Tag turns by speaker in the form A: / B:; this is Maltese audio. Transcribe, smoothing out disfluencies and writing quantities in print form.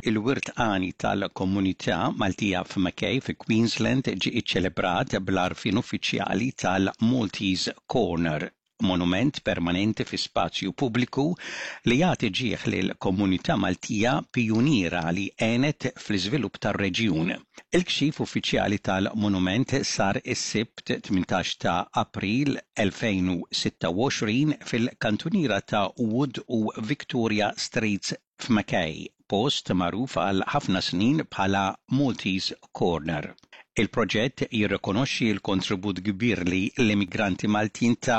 A: Il-wirt għani tal-komunità Maltija f'Mackay fi Queensland ġie iċċelebrat bl-għarfien uffiċjali tal-Maltese Corner, monument permanenti fi spazju pubbliku li jagħti ġieħ lill-komunità Maltija pijuniera li għenet fl-iżvilupp tar-reġjun. Il-kxif uffiċjali tal-monument sar is-Sibt 18 ta' April 2026 fil-kantuniera ta' Wood u Victoria Streets f'Mackay, post magħruf għal ħafna snin bħala Maltese Corner. Il-proġett jirrikonoxxi l-kontribut kbir li l-immigranti Maltin taw.